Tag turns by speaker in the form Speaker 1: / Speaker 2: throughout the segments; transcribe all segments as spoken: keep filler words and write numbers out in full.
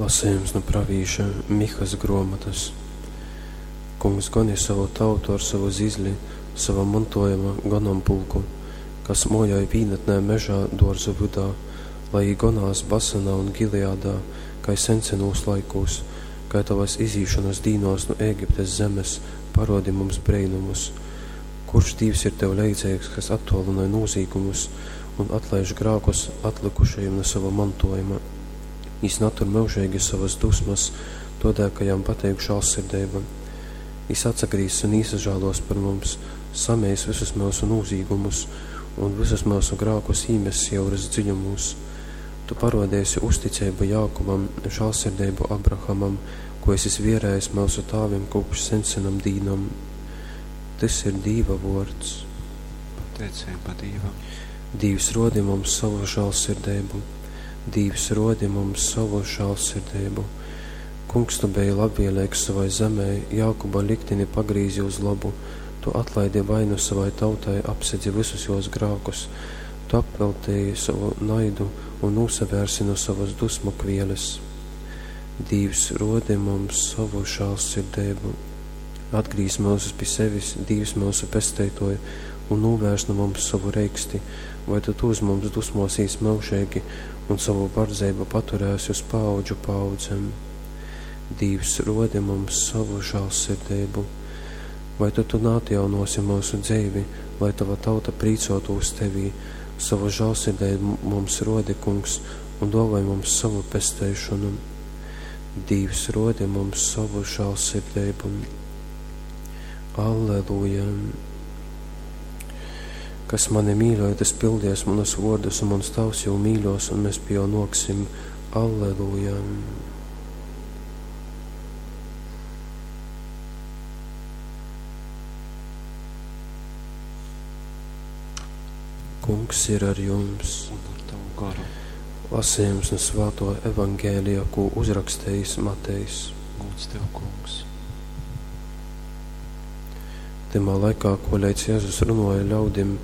Speaker 1: Lasījums nu pravīša Mihas gruomotas. Kungs goni savu tautu ar savu zizli, sava mantojuma gonampulku, kas mojoj vīnatnē mežā duorzu vydā, lai jī gonās Basanā un Gileadā, kai sensenūs laikūs, kai tovas izīšonas dīnōs nu Ēgiptes zemes, parōdi mums breinumus. Kurš Dīvs ir tev leidzeigs, kas attuolynoj nūzīgumus un atlaiž grākus atlykušajim nu sava mantojuma? Jis natur myužeigi sovas dusmas, tōdēļ, ka jam pateik žālsirdeiba. Jis atsagrīzs un īsažālōs par mums, sameis vysus myusu nūzīgumus un vysus myusu grākus īmess jyuras dziļumūs. Tu parōdeisi uzticeibu Jākubam, žālsirdeibu Abrahamam, ko esi zvierējis myusu tāvim kopš sensenam dīnom. Tys ir Dīva vōrds.
Speaker 2: Pateiceiba Dīvam.
Speaker 1: Dīvs, rōdi mums savu žālsirdeibu. Dīvs, rōdi mums savu žālsirdeibu. Kungs, tu beji labvēlīgs savai zemei, Jākuba liktini pagrīzi uz labu, tu atlaidi vainu savai tautai, apsedzi vysus jos grākus, tu apveltīji savu naidu un nūsavērsi no savas dusmu kvieles. Dīvs, rodi mums savu žālsirdeibu. Atgrīz mūsus pie sevis, Dīvs mūsu pesteitoja, un nūvērs no mums savu reiksti, vai tu tu uz mums dusmosīs myužīgi un savu bardzeibu paturēsi uz paaudžu paaudzēm. Dīvs, rodi mums savu žālsirdeibu. Vai tu tu neatjaunosi mūsu dzeivi, lai tava tauta prīcotūs tevī, savu žālsirdeibu mums rodi, kungs, un dāvāj mums savu pesteišanu. Dīvs, rodi mums savu žālsirdeibu. Alleluja! Kas mani mīļoja, tas pildies manus vārdus, un mans tavs jau mīļos, un mēs pie jo noksim. Alleluja! Kungs ir ar jums.
Speaker 2: Un ar tavu garu.
Speaker 1: Lasījums no Svēto evangēlija, ko uzrakstījis Matejs.
Speaker 2: Gods tev, kungs.
Speaker 1: Tymā laikā, koleidz Jēzus runoja ļaudim,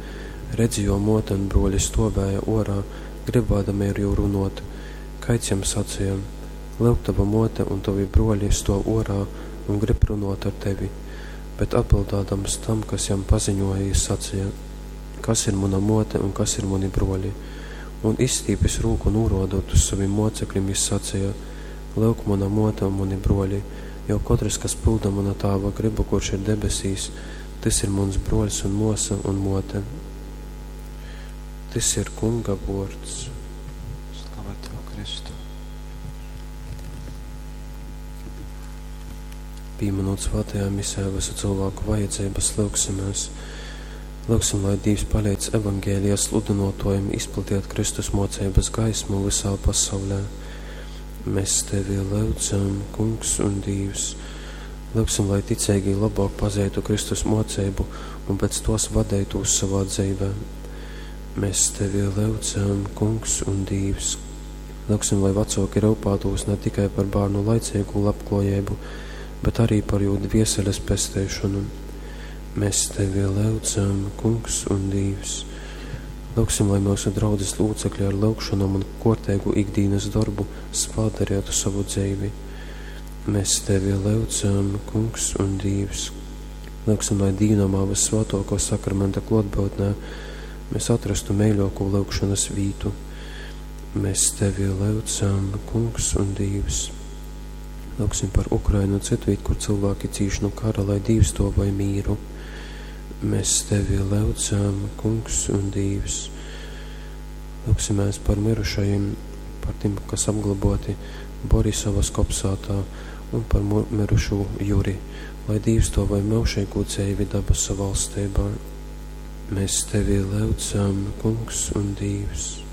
Speaker 1: redzi, jo mote un broļi stovēja orā, gribādami ar jū runot. Kaids jam sacīja: Lūk, tava mote un tavi broļi stov orā un grib runot ar tevi. Bet atbildādams tam, kas jam paziņoja, jis sacīja: Kas ir mana mote un kas ir mani broļi? Un izstīpis rūku nūrodot uz saviem mocekļiem, jis sacīja: Lūk, mana mote un mani broļi, jo katrs, kas pilda mana tāva gribu, kurš ir debesīs, tas ir mans broļs un mosa un mote. Tys ir Kunga vōrds.
Speaker 2: Slava tev, Kristu.
Speaker 1: Pīminot svētajā misē visu cilvēku vajadzības, lūgsimies. Lūgsim, lai Dievs palīdz evangēlija sludinotojiem izplatīt Kristus mocības gaismu visā pasaulē. Mēs tevi lūdzam, Kungs un Dievs. Lūgsim, lai ticīgi labāk pazītu Kristus mocību un pēc tos vadītos savā dzīvē. Mēs tevi lūdzam, Kungs un Dievs. Lūgsim, lai vecāki rūpētos ne tikai par bērnu laicīgu labklājību, bet arī par jū dvieseles pesteišanu. Mēs tevi lūdzam, Kungs un Dievs. Lūgsim, lai mūsu draudzes locekļi ar lūgšanām un kortēgu ikdienas darbu svētdarītu savu dzīvi. Mēs tevi lūdzam, Kungs un Dievs. Lūgsim, lai dīvnamā vissvētāko sakramenta klātbūtnē mēs atrastu mīļāko lūgšanas vītu. Mēs tevi lūdzam, Kungs un Dievs. Lūgsim par Ukrainu un citvīt, kur cilvēki cīš no kara, lai Dievs to vai mīru. Mēs tevi lūdzam, Kungs un Dievs. Lūgsimies par mirušajiem, par tiem, kas apglaboti Borisovas kopsātā, un par mirušo Juri, lai Dievs to vai myužīgu dzīvi dabasu valstībā. Mēs tevi lūdzam, Kungs un Dievs.